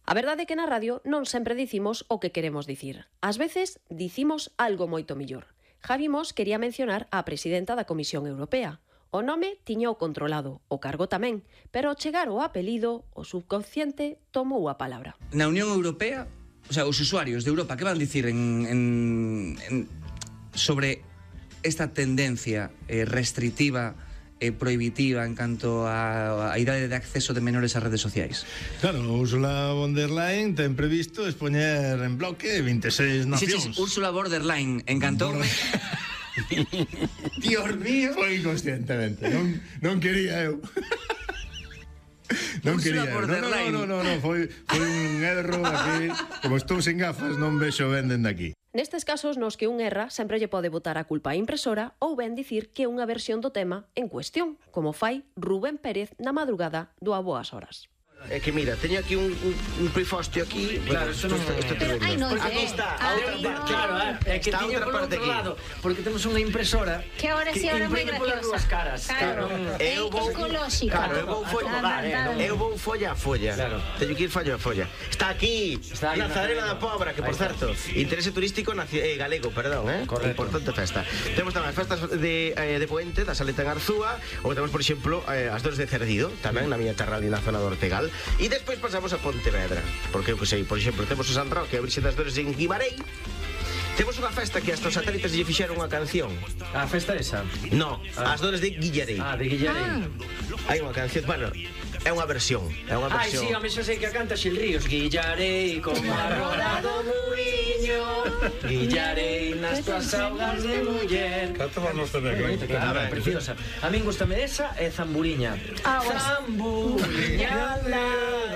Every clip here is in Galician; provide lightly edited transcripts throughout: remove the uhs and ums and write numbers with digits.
A verdade é que na radio non sempre dicimos o que queremos dicir. Ás veces dicimos algo moito millor. Javi Mos quería mencionar á presidenta da Comisión Europea. O nome tiña o controlado, o cargo tamén, pero ao chegar o apelido, o subconsciente tomou a palabra. Na Unión Europea, o sea, os usuarios de Europa, que van dicir sobre esta tendencia restrictiva prohibitiva en canto a idade de acceso de menores ás redes sociais? Claro, Ursula von der Leyen ten previsto expoñer en bloque 26 nacións. Ursula Borderline, encantoume. Dios mío. Foi inconscientemente, non quería eu. Non quería eu. Non, foi un erro aquí. Como estou sen gafas, non vexo ben dende aquí. Nestes casos nos que un erra sempre lle pode botar a culpa á impresora ou ben dicir que é unha versión do tema en cuestión, como fai Rubén Pérez na madrugada do A Boas Horas. É que mira, teño aquí un prifostio aquí. Claro, eso non é tremendo. Aquí está, a outra parte. Claro, é que está outra parte aquí. Lado, porque temos unha impresora que ahora sí, ahora moi graciosa. Caras. Claro. É ecolóxica. Claro, eu vou folla a folla. Claro. Teño que ir folla a folla. Está aquí, Nazarena da Pobra, que por certo, interese turístico galego, perdón, importante festa. Temos tamén as festas de Puente, da Saleta en Arzúa, ou temos, por exemplo, as Dores de Cerdido, tamén na miña terra ali na zona do Ortegal. E despois pasamos a Pontevedra, porque eu que sei, por exemplo, temos o San Roque, a Virxe das Dores en Guimarei. Temos unha festa que hasta os satélites lle fixeron unha canción. A festa esa? No, as Dores de Guillarei. De Guillarei. Hai unha canción, bueno, é unha versión. Ai, sí, a mí xa sei que a canta Xil Ríos. Guillarei como a roda do muiño, Guillarei nas tuas augas de muller. Canto vamos a ver. Preciosa. A min gustame esa e Zamburiña. Zamburiña la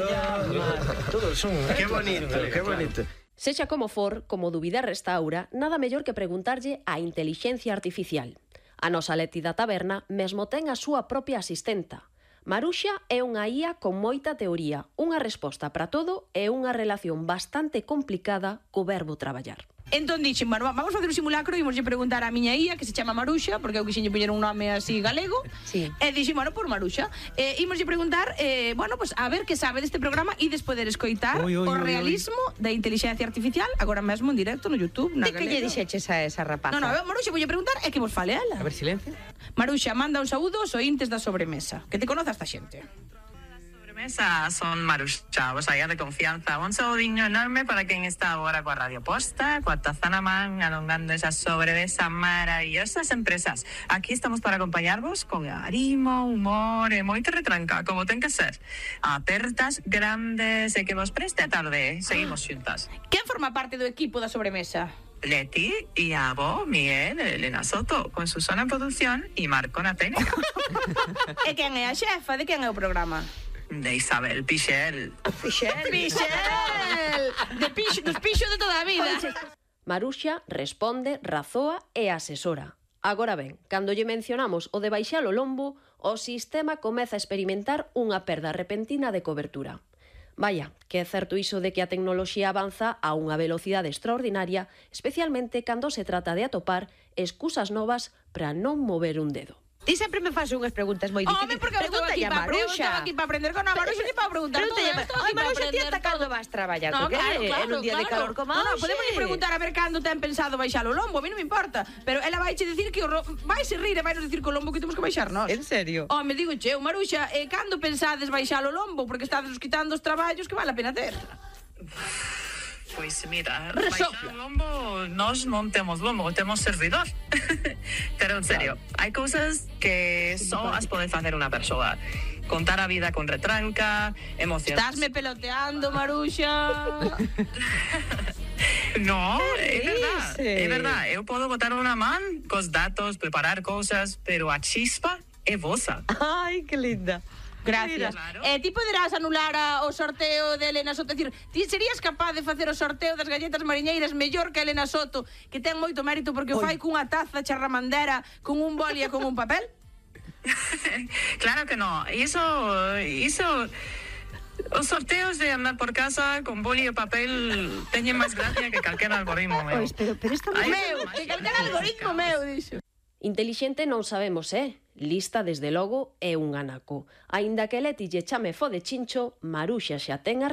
llama. Todos son... Que bonito, que bonito. Sexa como for, como dubidar restaura, nada mellor que preguntarlle á intelixencia artificial. A nosa Leti da taberna mesmo ten a súa propia asistenta. Maruxa é unha IA con moita teoría, unha resposta para todo e unha relación bastante complicada co verbo traballar. Entón dixen, bueno, vamos facer un simulacro e imoslle preguntar á miña IA, que se chama Maruxa, porque eu quixenlle poñer un nome así galego. Sí. E dixen, bueno, por Maruxa. Imoslle preguntar, bueno, pues a ver que sabe deste programa e des poder escoitar o realismo da inteligencia artificial, agora mesmo en directo no YouTube, na galega. De que lle dixeches a esa rapaza? No, Maruxa, voulle preguntar e que vos fale ela. A ver, silencio. Maruxa, manda un saúdo aos ointes da sobremesa. Que te conoce esta xente. Son Maruxa, vos allá de confianza. Un saudinho enorme para quen está agora coa Radio Posta, coa taza na man, alongando esas sobremesas maravillosas empresas. Aquí estamos para acompañarvos con arimo, humor e moita retranca, como ten que ser. Apertas grandes e que vos preste a tarde. Seguimos xuntas. Quen forma parte do equipo da sobremesa? Leti y Abo, Miguel, Elena Soto, con Susana en producción y Marco na técnica. E quen é a xefa? De quen é o programa? De Isabel Pixel. Pixel! Dos pixos de toda a vida. Maruxa responde, razoa e asesora. Agora ben, cando lle mencionamos o de baixar o lombo, o sistema comeza a experimentar unha perda repentina de cobertura. Vaya, que é certo iso de que a tecnoloxía avanza a unha velocidade extraordinaria, especialmente cando se trata de atopar excusas novas para non mover un dedo. Ti sempre me fas unhas preguntas moi difíciles. Porque eu estou aquí para aprender con a Maruxa e para preguntar todo isto. Maruxa, ti ata cando vas traballar? Porque é un día de calor como hoxe. Podemos preguntar a ver cando ten pensado baixar o lombo. A mí non me importa. Pero ela vai che dicir que vai se rir e vai nos dicir que o lombo que temos que baixar nós. En serio? Me digo che, Maruxa, cando pensades baixar o lombo? Porque estades quitando os traballos que vale a pena ter. Pois mira, baixar o lombo, nós non temos lombo, temos servidor. Pero en serio, hai cousas que só as pode facer unha persoa. Contar a vida con retranca, emocionar. Estásme peloteando, Maruxa. No, é verdade. Eu podo botar unha man cos datos, preparar cousas, pero a chispa é vosa. Ai, que linda. Gracias. Claro. Ti poderás anular o sorteo de Elena Soto. É dicir, ti serías capaz de facer o sorteo das galletas mariñeiras mellor que Elena Soto, que ten moito mérito porque o fai cunha taza charramandera, con un boli e con un papel? Claro que no. Iso os sorteos de andar por casa con boli e papel teñen máis gracia que calquera algoritmo meu. Pero isto meu, que calquera algoritmo meu, dixo. Intelixente non sabemos, Lista, desde logo, é un anaco. Aínda que Leti lle chame fo de chincho, Maruxa xa ten a